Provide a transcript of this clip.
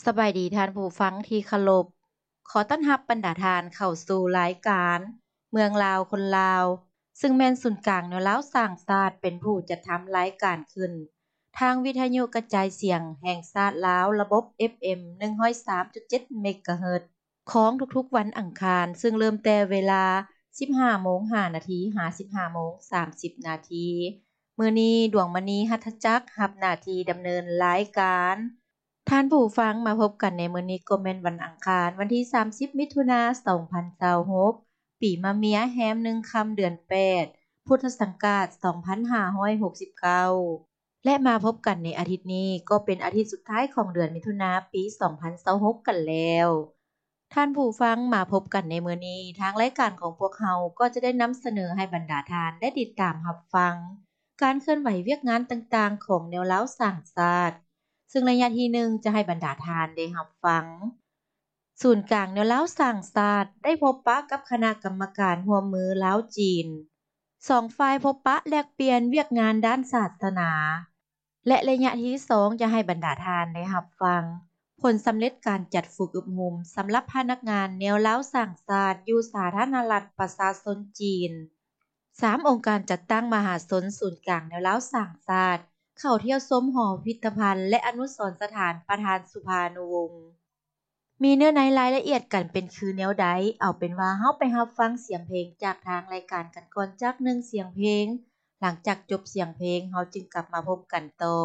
ສະບາຍດີທ່ານຜູ້ຟັງທີ່ເຄົາລົບ. ຂໍຕ້ອນຮັບບັນດາທ່ານເຂົ້າສູ່ລາຍການເມືອງລາວຄົນລາວ, ຊຶ່ງແມ່ນສູນກາງແນວລາວສ້າງຊາດເປັນຜູ້ຈັດທຳລາຍການຂຶ້ນ ທາງວິທະຍຸກະຈາຍສຽງແຫ່ງຊາດລາວ ລະບົບ ເອັຟເອັມ ໜຶ່ງຮ້ອຍສາມຈຸດເຈັດ ເມກາເຮີດ ຂອງທຸກໆວັນອັງຄານ, ຊຶ່ງເລີ່ມແຕ່ເວລາ ສິບຫ້າໂມງຫ້ານາທີ ຫາ ສິບຫ້າໂມງສາມສິບນາທີ. ມື້ນີ້ ດວງມະນີ ຫັດຖະຈັກ ຮັບໜ້າທີ່ດຳເນີນລາຍການ. ທ່ານຜູ້ຟັງ, ມາພົບກັນໃນມື້ນີ້ກໍແມ່ນວັນອັງຄານ ວັນທີສາມສິບ ມິຖຸນາ ສອງພັນຊາວຫົກ ປີມະເມຍ ແຮມໜຶ່ງຄ່ຳ ເດືອນແປດ ພຸດທະສັງກາດ ສອງພັນຫ້າຮ້ອຍຫົກສິບເກົ້າ ແລະ ມາພົບກັນໃນອາທິດນີ້ ກໍເປັນອາທິດສຸດທ້າຍຂອງເດືອນມິຖຸນາ ປີສອງພັນຊາວຫົກກັນແລ້ວ. ທ່ານຜູ້ຟັງ, ມາພົບກັນໃນມື້ນີ້, ທາງລາຍການຂອງພວກເຮົາກໍຈະໄດ້ນຳສະເໜີໃຫ້ບັນດາທ່ານໄດ້ຕິດຕາມຮັບຟັງ ການເຄື່ອນໄຫວວຽກງານຕ່າງໆຂອງແນວລາວສ້າງຊາດ, ຊຶ່ງໄລຍະທີໜຶ່ງຈະໃຫ້ບັນດາທ່ານໄດ້ຮັບຟັງ ສູນກາງແນວລາວສ້າງຊາດ ໄດ້ພົບປະກັບຄະນະກຳມະການຮ່ວມມືລາວ-ຈີນ, ສອງຝ່າຍພົບປະແລກປ່ຽນວຽກງານດ້ານສາສະໜາ ແລະ ໄລຍະທີສອງຈະໃຫ້ບັນດາທ່ານໄດ້ຮັບຟັງ ຜົນສຳເລັດການຈັດຝຶກອົບຮົມສຳລັບພະນັກງານແນວລາວສ້າງຊາດຢູ່ສາທາລະນະລັດປະຊາຊົນຈີນ. ສາມ ອົງການຈັດຕັ້ງມະຫາຊົນສູນກາງແນວລາວສ້າງຊາດ ເຂົ້າທ່ຽວຊົມຫໍພິພິທະພັນ ແລະ ອະນຸສອນສະຖານປະທານສຸພານຸວົງ ມີເນື້ອໃນລາຍລະອຽດກັນເປັນຄືແນວໃດ? ເອົາເປັນວ່າເຮົາໄປຮັບຟັງສຽງເພງຈາກທາງລາຍການກັນກ່ອນຈັກໜຶ່ງສຽງເພງ, ຫຼັງຈາກຈົບສຽງເພງ ເຮົາຈຶ່ງກັບມາພົບກັນຕໍ່.